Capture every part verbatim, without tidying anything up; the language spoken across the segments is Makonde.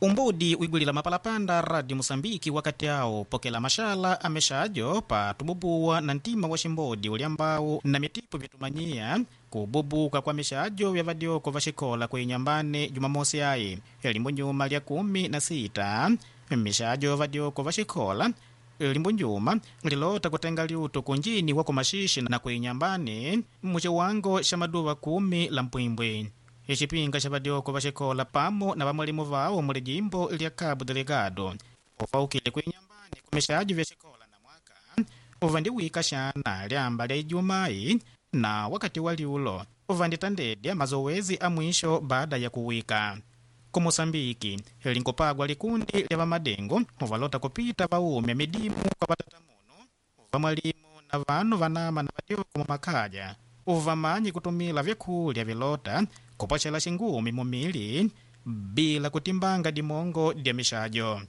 Umbudi wigwilila mapalapanda Radio Musambiki wakati awo pokela mashala amexajo pa tububuwa na ntima wa ximbodi uliambau na mitipo vyetumanyia kububuka kwa mixajo vya vadyoko va xikola kuinyambane Jumamosi ayi limbo nyuma lya kumi na sita mixajo vadyoko va xikola limbo njuma lilota kutenga liuto kunjini wa kumaxixe na kuinyambane muciwango xa maduva kumi la mpwimbwi. Ixipinga xa vadyoko va xikola pamo na vamwalimu vawo muli jimbo lya Cabo Delgado ufaukile kuinyambani kumixajo vya xikola na mwaka uvandiwika xana lyamba lya Ijumai na wakati wa liulo uvanditandedya mazowezi a mwisho baada ya kuwika. Ku Moçambike linkupagwa likundi lya vamadengo uvalota kupita vaumya midimu kwa vatatamuno uvamwalimu na vanu vanama na vadyoko mumakaya uvamanyi kutumila vyakulya vilota kupwacela xingumi mumili bila kutimbanga dimongo dya mixajo.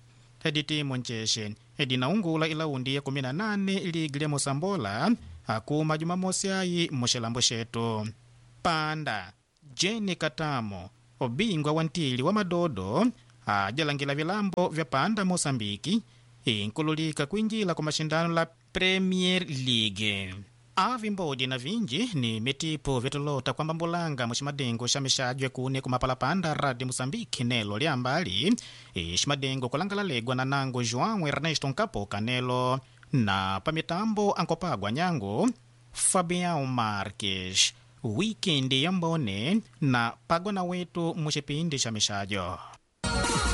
Editimu ncexe edinaungula ilaundi ya kumi na nane ligi lya Mosambola akuma Jumamosi ayi muxilambo xetu. Panda Jeni Katamo obingwa wa ntili wa madodo ajalangila vilambo vya Panda Moçambike inkululika kuinjila kwa mashindano la Premier League. Avimbodi na vinji ni mitipo vyatulota kwamba mbulanga muximadengo xa mixajo kune kumapalapanda Radio Moçambique nelo lyambali ximadengo kulangala legwa na nango João Ernesto Nkapoka nelo na pamitambo ankopagwa nyango Fabião Marques. Wikendi ya mbone na pagwa na wetu muxipindi xa mixajo.